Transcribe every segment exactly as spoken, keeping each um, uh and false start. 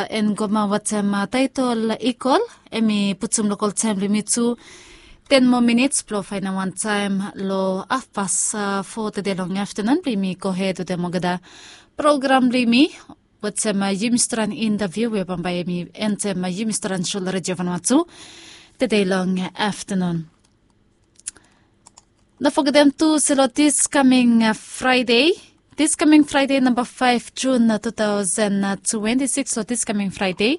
Ngoma wetem taetol Ikol, hemi putum lokol taem blong yumi tu ten moa minits blong faenem wan taem long hafpas fo tede long aftenun blong yumi gohed wetem olgeta program blong yumi wetem yumi stret long intaviu we bambae hemi entem yumi stret long sho long Redio Vanuatu tede long aftenun. No fogetem tu se long dis kaming Fraede, dis kaming Fraede namba faef Jun tu taosen twenti sikis, long dis kaming Fraede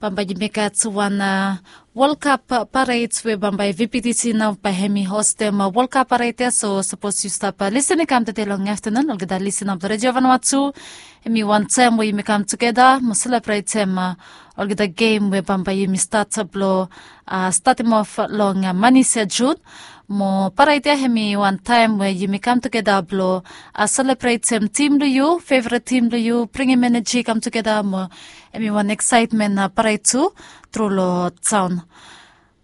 bambae yumi gat wan World Cup pared we bambae VPTC nao bae hemi hostem World Cup pared ya. So sapos yu stap lisin i kam tede long aftenun, olgeta lisin blong Redio Vanuatu, hemi wan taem we yumi kam tugeta mo selebretem olgeta gem we bambae yumi stat blong statem of long manis ya Jun. Mo pared ya hemi wan taem we yumi kam tugeta blong selebretem tim blong yu, fevret tim blong yu, bringim eneji kam tugeta mo hemi wan eksaetmen pared tu tru long taon.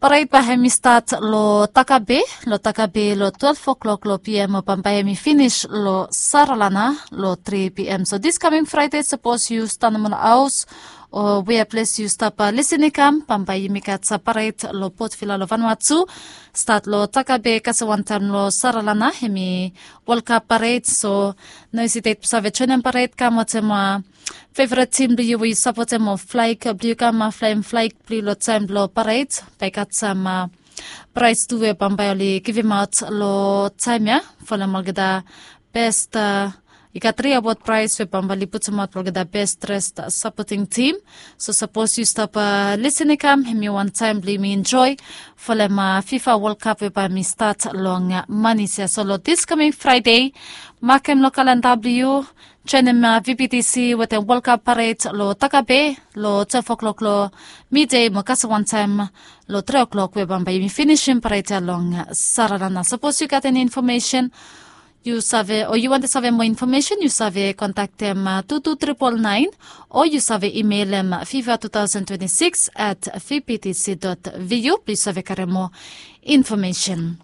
Pared bae hemi stat long Takabe, long Takabe long twelef o'clock long PM mo bambae hemi finis long Saralana long tri PM. So dis kaming Fraede sapos yu stanem long haos o wea ples yu stap lisin i kam, bambae yumi gat pared long Port Vila long Vanuatu, stat long Takabe kasem wantaem long Saralana, hemi World Cup pared. So no hesitet blong save joenem pared, kam wetem fevret tim blong yu we yu sapotem o flaeg blong yu, kam flaem flaeg blong yu long taem blong pared. Bae i gat sam praes tu we bambae oli givimaot long taem ya folem olgeta bes, i gat tri awod praes we bambae oli putumaot blong olgeta bes dres sapoting tim. So sapos yu stap lisin i kam, hemi wan taem blong yumi enjoe folem FIFA World Cup we bae hemi stat long manis ya. So long dis kaming Fraede, makem long kalenda blong yu, joenem VPTC wetem World Cup pared long Takabe long twelef o'clock long mide mo kasem wantaem long tri o'clock we bambae yumi finisim pared ya long Saralana. Sapos yu gat eni infomesen yu save o yu wantem save moa infomesen, yu save kontaktem tu tu tripol naen o yu save imelem FIFA two thousand twenty-six at VPTC dot VU blong yu save karem moa infomesen.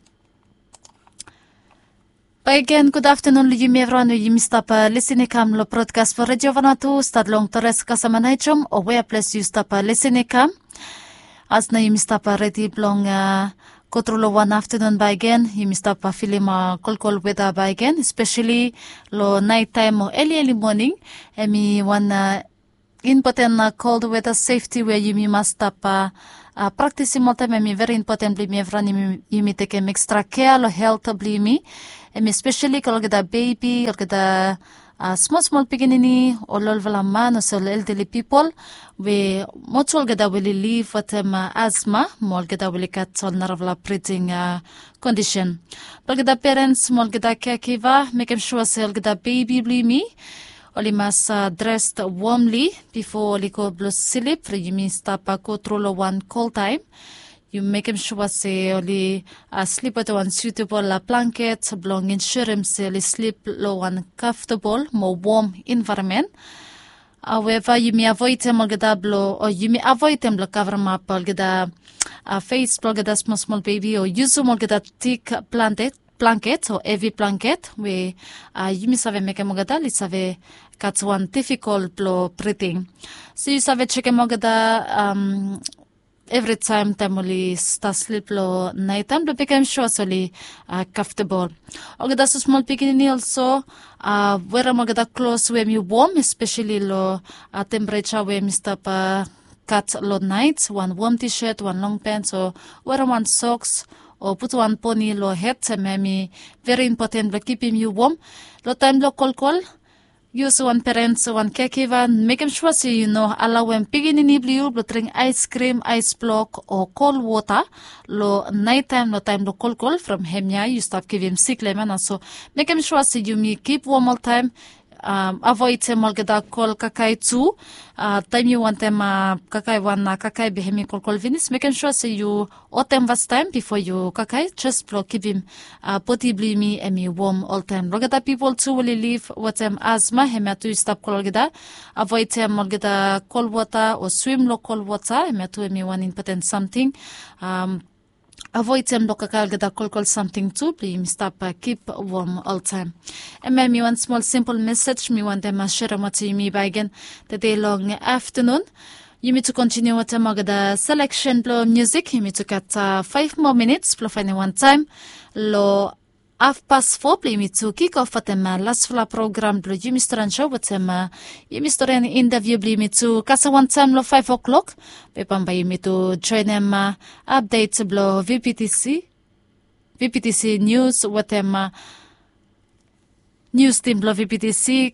Bakegen gud aftenun long yumi evriwan we yumi stap lisin i kam long brodkas blong Redio Vanuatu, stat long Torres Kasamanaichom o wea ples yu stap lisin i kam. As nao yumi stap redi blong gotru long wan aftenun bakegen, yumi stap filim kolkol weta bakegen, espeseli long naetaem o eli eli moning. Hemi wan impoten kol weta sefti we yumi mas stap praktisim oltaem. Hemi veri impoten blong yumi evriwan yumi tekem ekstra kea long helt blong yumi. Hemi espeseli long olgeta bebi, olgeta smol smol pikinini, ol olfala man olsem ol eldali pipol we mo tu olgeta we oli liv wetem asma mo olgeta we oli gat ol narafala briding kondisen. Blong olgeta perens mo olgeta keakiva, mekem sua se olgeta bebi blong yumi oli mas dres womli bifo oli go blong slip. Yumi stap gotru long wan kol taem. Yu mekem sua se oli slip wetem wan sutabol blanket blong ensurem se oli slip long wan kamftabol mo wom envaeronmen. Haueva yumi avoedem olgeta blong o yumi avoedem blong kavremap olgeta fes blong olgeta smol smol bebi o yusum olgeta tik blanket o hevi blanket we yumi save mekem olgeta oli save gat wan difikol blong briding. So yu save jekem olgeta evritaem taem oli stat slip long naetaem blong mekem sua se oli kamftabol. Olgeta smosmol pikinini olso, werem olgeta klos we hemi wom, espeseli long tempereja we hemi stap gat long naet, wan wom tishet, wan long pens o werem wan soks o putum wan poni long hed, hemia hemi veri impoten blong kipim yu wom. Long taem blong kolkol, yu olsem wan perens o wan keakiva, mekem sua se yu no alaoem pikinini blong yu blong dring aeskrim, aes blok o kol wota long naetaem long taem blong kolkol, from hemia yu stap givim sik long hemia nao. So mekem sua se yumi kip wom oltaem, avoedem olgeta kol kakae tu. Taem yu wantem kakae wan kakae be hemi kolkol finis, mekem sua se yu hotem fastaem bifo yu kakae, jes blong kipim bodi blong yumi hemi wom oltaem. Long olgeta pipol tu we oli liv wetem asma, hemia tu yu stap kol olgeta, avoedem olgeta kol wota o swim long kol wota, hemia tu hemi wan impoten samting. avoid tem blong kakae olgeta kolkol samting tu blong yumi stap kip wom oltaem. Em ya mi wan smol simpol mesej mi wantem serem wetem yumi baegen tede long aftanun. Yumi tu kontiniu wetem olgeta seleksen blong musik. Yumi tu gat faef moa minits blong faenem wan taem long hafpas fo blong yumi tu kikof wetem lasfala program blong yumi storian sou wetem yumi storian intaviu blong yumi tu kasem wantaem long faef o'klok. Be bambae yumi tu joenem apdet blong vptc vptc nius wetem nius tim blong vptc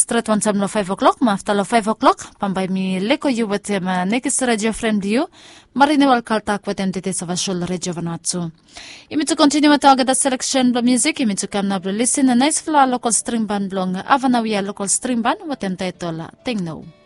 stret wantaem long faef o'klok mo afta long faef o'klok bambae mi leko yu wetem nekis redio fren blong yu, marinewal kaltak wetem tete savasol redio vanua tu. Yumi tu kontiniu wetem olgeta seleksen blong musik yumi tu kam nao blong lisin naesfala lokol stringban blong avanawia lokol stringban wetem taetol tengno.